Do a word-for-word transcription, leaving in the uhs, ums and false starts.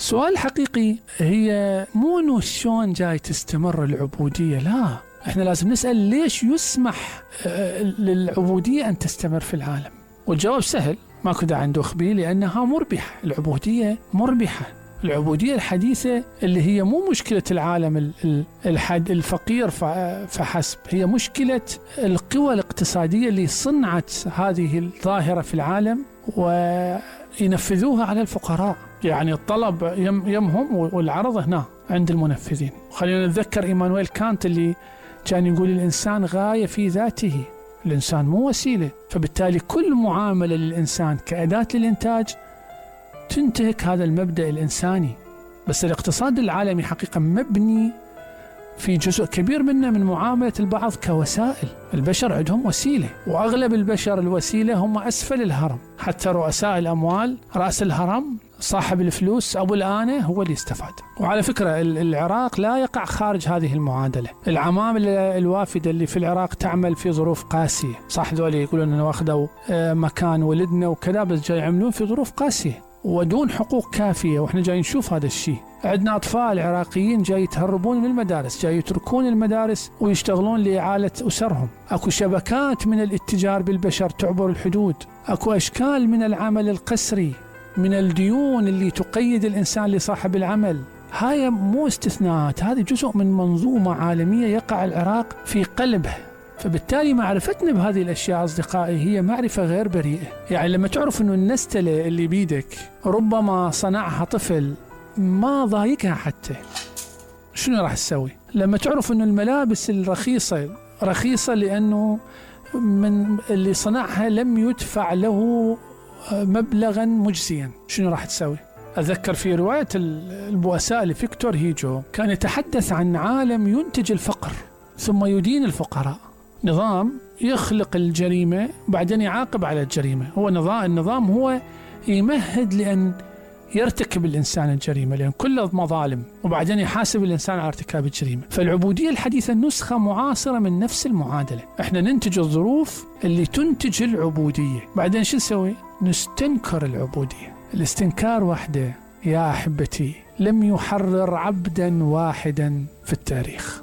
سؤال حقيقي، هي مو انه شلون جاي تستمر العبودية، لا، احنا لازم نسأل ليش يسمح للعبودية ان تستمر في العالم. والجواب سهل، ماكو داعي ندوخ به، لانها مربحة. العبودية مربحة. العبودية الحديثة اللي هي مو مشكلة العالم الحد الفقير فحسب، هي مشكلة القوى الاقتصادية اللي صنعت هذه الظاهرة في العالم وينفذوها على الفقراء. يعني الطلب يم يمهم والعرض هنا عند المنفذين. خلينا نتذكر إيمانويل كانت اللي كان يقول الإنسان غاية في ذاته، الإنسان مو وسيلة. فبالتالي كل معاملة للإنسان كأداة للإنتاج تنتهك هذا المبدأ الإنساني. بس الاقتصاد العالمي حقيقة مبني في جزء كبير منه من معاملة البعض كوسائل. البشر عندهم وسيلة، وأغلب البشر الوسيلة هم أسفل الهرم. حتى رؤساء الأموال، رأس الهرم صاحب الفلوس أبو الآنة هو اللي استفاد. وعلى فكرة العراق لا يقع خارج هذه المعادلة. العمامل الوافدة اللي في العراق تعمل في ظروف قاسية، صح ذولي يقولون أنه واخدوا مكان ولدنا وكذا، بس جاي يعملون في ظروف قاسية ودون حقوق كافية. وإحنا جاي نشوف هذا الشيء. عندنا أطفال عراقيين جاي يتهربون من المدارس، جاي يتركون المدارس ويشتغلون لإعالة أسرهم. أكو شبكات من الاتجار بالبشر تعبر الحدود. أكو أشكال من العمل القسري، من الديون اللي تقيد الإنسان لصاحب العمل. هاي مو استثناءات، هذه جزء من منظومة عالمية يقع العراق في قلبها. فبالتالي معرفتنا بهذه الأشياء أصدقائي هي معرفة غير بريئة. يعني لما تعرف أنه النستلة اللي بيدك ربما صنعها طفل ما ضايقها حتى، شنو راح تسوي؟ لما تعرف أنه الملابس الرخيصة رخيصة لأنه من اللي صنعها لم يدفع له مبلغا مجزيا، شنو راح تسوي؟ أذكر في رواية البؤساء لفيكتور هيجو كان يتحدث عن عالم ينتج الفقر ثم يدين الفقراء. نظام يخلق الجريمة بعدين يعاقب على الجريمة. هو نظام النظام هو يمهد لأن يرتكب الإنسان الجريمة، لأن كله مظالم، وبعدين يحاسب الإنسان على ارتكاب الجريمة. فالعبودية الحديثة نسخة معاصرة من نفس المعادلة. احنا ننتج الظروف اللي تنتج العبودية، بعدين شو نسوي؟ نستنكر العبودية. الاستنكار وحده يا أحبتي لم يحرر عبدا واحدا في التاريخ.